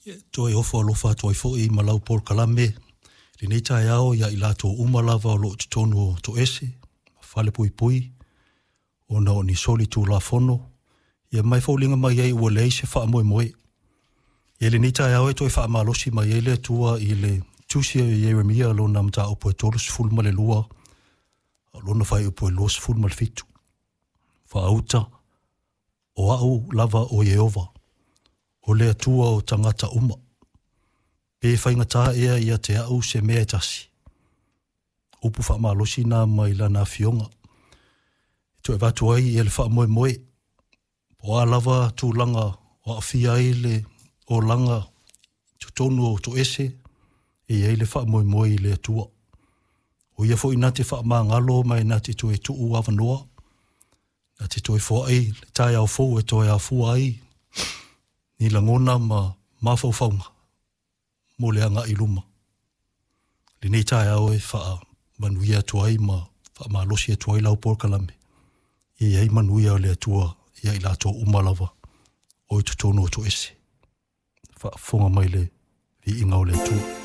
E toe ofo alofa atu ai foi ma lau polokalame i lenei taeao ia i latou uma lava o lo o i totonu o Toese ma Falepuipui ona o ni soli tulafono, ia ma e foliga mai ai ua leai se faamoemoe. Ia lenei taeao e toe faamalosi mai ai le Atua i le tusi a Ieremia lona mataupu e 32, o lona fuaiupu e 27. Faauta, o au lava o Ieova, o le Atua o tagata uma. Pe faigata ea ia te au se mea e tasi. Upu faamalosi na mai lana afioga. E toe avatu ai ia le faamoemoe. Po o a lava tulaga o aafia ai le olaga i totonu o Toese, e i ai le faamoemoe i le Atua. O ia foi na te faamagalo ma e na te toe tuu avanoa, na te toe foai le taeao fou e toe afua ai ni lagona ma mafaufauga mo le agai i luma. Lenei taeao e faamanuia atu ai ma faamalosi atu ai lau polokalame, e i ai manuia o le Atua ia i latou uma lava o i totonu o Toese. Faafofoga mai le viiga o le Atua.